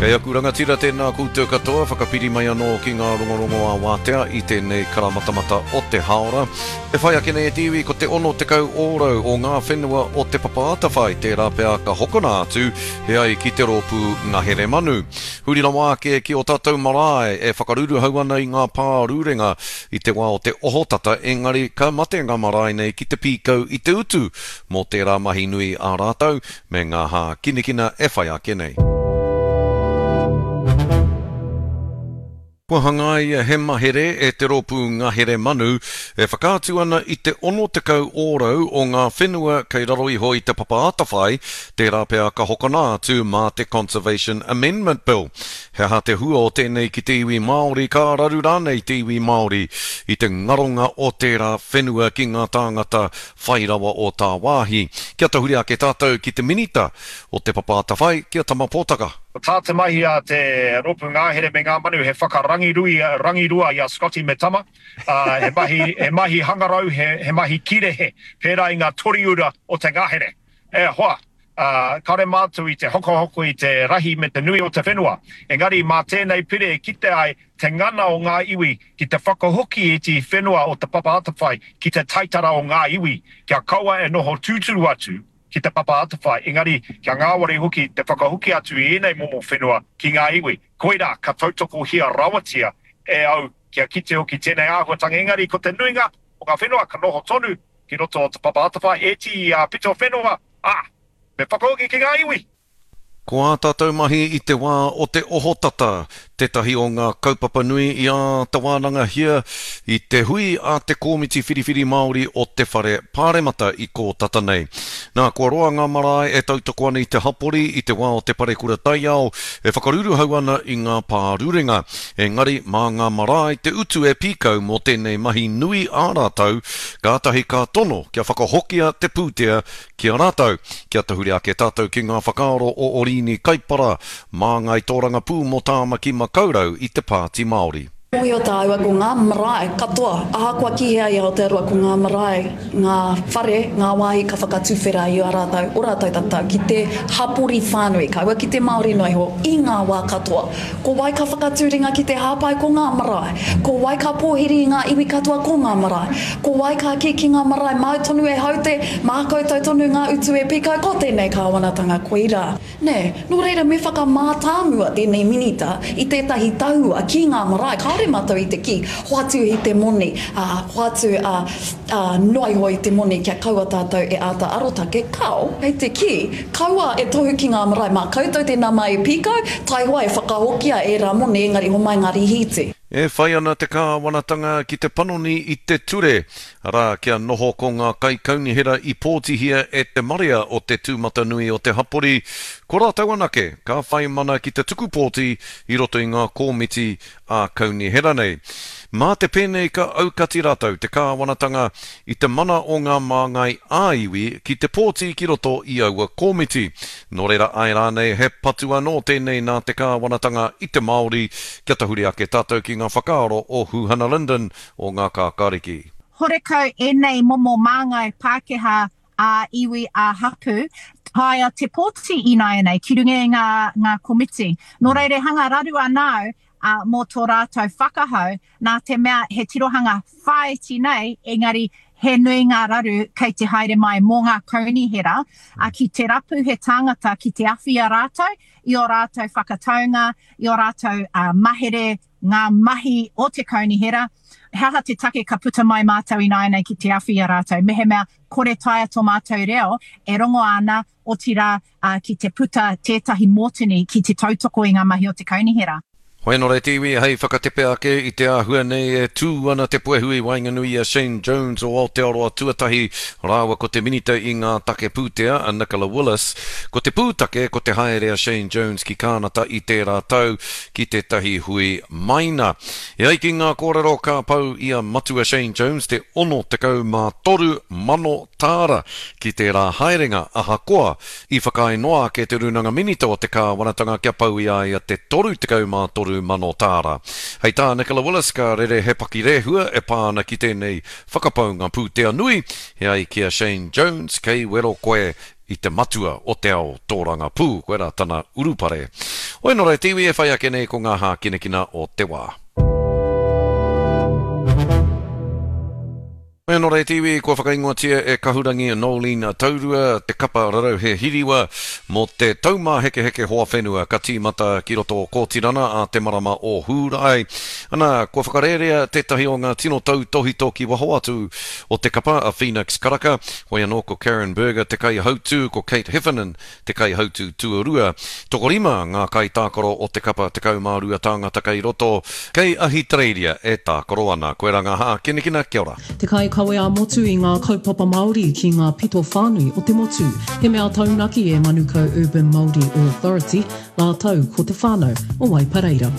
Kei aku rangatira tēnā koutou katoa, whakapiri mai anō ki ngā rongorongo ā-wātea i tēnei karamatamata o te hāora. E whai ake nei e te iwi ko te 60 ōrau o ngā whenua o Te Papa Atawhai tērā pea ka hokona atu e ai ki te rōpū ngahere manu. Huri rawa ake ki ō tātou marae e whakaruruhau ana i ngā pārurenga i te wā o te ohotata engari ka mate ngā marae nei ki te pīkau i te utu mō tērā mahi nui a rātou me ngā hākinakina e whai ake nei. Kua hangaia he mahere e te Rōpū Ngahere Manu e whakaatu ana i te 60 ōrau o ngā whenua kei raro iho i Te Papa Atawhai, tērā pea ka hokona atu mā te Conservation Amendment Bill. He aha te hua o tēnei ki te iwi Māori, ka raru rānei te iwi Māori i te ngaronga o tērā whenua ki ngā tāngata whai rawa o tāwāhi. Kia tahuri ake tātou ki te Minita o Te Papa Atawhai, ki a Tama Potaka. Ko tā te mahi a te Rōpū Ngahere me Ngā Manu he whakarangirui, rangirua i a Scotty me Tama, ā, he mahi, he mahi hangarau, he, he mahi kirehe, pērā i ngā toriura o te ngahere. E hoa, ā, kāore mātou i te hokohoko i te rahi me te nui o te whenua, engari mā tēnei pire e kite ai te ngana o ngā iwi ki te whakahoki i te whenua o Te Papa Atawhai ki te taitara o ngā iwi, kia kaua e noho tūturu atu ki Te Papa Atawhai, engari kia ngāwari hoki te whakahoki atu i ēnei momo whenua ki ngā iwi. Koirā ka tautokohia rawatia e au kia kite hoki tēnei āhuatanga, engari ko te nuinga o ngā whenua ka noho tonu ki roto o Te Papa Atawhai, ēti pito whenua, ā, me whakahoki ki ngā iwi. Ko ā tātou mahi i te wā o te ohotata tētahi o ngā kaupapa nui i āta wānangahia i te hui a te Kōmiti Whiriwhiri Māori o te Whare Pāremata i kō tata nei. Nā, kua roa ngā marae e tautoko ana i te hapori i te wā o te parekura taiao e whakaruruhau ana i ngā pārurenga. Engari, mā ngā marae te utu e pīkau mō tēnei mahi nui ā rātou, kātahi ka tono kia whakahokia te pūtea Ki a rātou, kia tahuri ake tātou ki ngā whakaaro o Oriini Kaipara, māngai tōrangapū mō Tāmaki Makaurau i te Pāti Māori. Mōhio tāua ko ngā marae katoa, ahakoa ki hea i Aotearoa ko ngā marae, ngā whare, ngā wāhi ka whakatuwhera i a rātou, o rātou tatau ki te hapori whānui, kaua ki te Māori noa iho, i ngā wā katoa. Ko wai ka whakatū ringa ki te hāpai? Ko ngā marae. Ko wai ka pōhiri i ngā iwi katoa? Ko ngā marae. Ko wai ka kī ki ngā marae, māu tonu e haute, mā koutou tonu ngā utu e pīkau, ko tēnei kāwanatanga koirā. Nē, nō reira me whakamātāmua tēnei minita i tētahi tahua ki ngā marae, kāore mātou i te kī, hoatu i te moni, ā, hoatu, ā, ā, noa iho i te moni kia kaua tātou e āta arotake, kāo, kei te kī, kaua e tohu ki ngā marae, mā koutou tēnā mā e pīkau, taihoa e whakahokia ērā moni engari homai ngā rīhīti. E whai ana te kāwanatanga ki te panoni i te ture, arā, kia noho ko ngā kaikaunihera i pōtihia e te marea o te tūmatanui o te hapori, ko rātou anake ka whai mana ki te tuku pōti i roto i ngā kōmiti ā-kaunihera nei. Mā te pēnei ka aukati rātou, te kāwanatanga, i te mana o ngā māngai ā-iwi ki te pōti ki roto i aua kōmiti. Nō reira āe rānei he patu anō tēnei nā te kāwanatanga i te Māori kia tahuri ake tātou ki ngā whakaaro o Huhana Lyndon o Ngā Kākāriki. Horekau ēnei momo māngai Pākehā ā-iwi, ā-hapū, taea te pōti ināianei ki runga i ngā, ngā komiti. Nō reira e hanga raru ana au ā, mō tō rātou whakahau, nā te mea he tirohanga whāiti nei, engari he nui ngā raru kei te haere mai mō ngā kaunihera, ā, ki te rapu he tāngata ki te awhi i a rātou, i ō rātou whakataunga, i ō rātou mahere, ngā mahi o te kaunihera, he aha te take ka puta mai mātou ināianei ki te awhi i a rātou, mehemea kore taea tō mātou reo e rongo ana, otirā, ki te puta tētahi mōtini ki te tautoko i ngā mahi o te kaunihera. Hoi anō te iwi hei whakatepe ake i te āhua nei e tū ana te puehu i waenganui i a Shane Jones o Aotearoa Tuatahi rāua ko te Minita i ngā Take Pūtea a Nicola Willis. Ko te pūtake ko te haere a Shane Jones ki Kānata i tērā tau ki tētahi hui maina. E ai ki ngā kōrero ka pau i a Matua Shane Jones te 63 mano tāra ki tērā haerenga ahakoa i whakaae noa ake te Rūnanga Minita o te Kāwanatanga kia pau i a ia te 33 mano tāra. Hei tā Nicola Willis ka rere he pakirehua e pā ana ki tēnei whakapaunga pūtea nui, e ai ki a Shane Jones kei wero koe i te matua o te ao tōrangapū, koirā tana urupare. Hoi nō reira te iwi e whai ake nei ko ngā hākinakina o te wā. Hoi anō rā te iwi, kua whakaingoatia e Kahurangi Noeline Taurua te kapa rarauhe hiriwa mō te Taumāhekeheke Hoa Whenua ka tīmata ki roto o Kōtirana ā te marama o Hūrae. Ana, kua whakarērea tētahi o ngā tino tautōhito ki waho atu o te kapa, a Phoenix Karaka. Hoi anō ko Karen Burger te kaihautū, ko Kate Heffernan te kaihautū tuarua. Tokorima ngā kaitākaro o te kapa 12 tāngata kei roto, kei Ahitereiria e tākaro ana. Koirā ngā hākinakina, kia ora. Te kaikawe ā-motu i ngā kaupapa Māori ki ngā pito whānui o te motu. He mea taunaki e Manukau Urban Māori Authority rātou ko te whānau o Waipareira.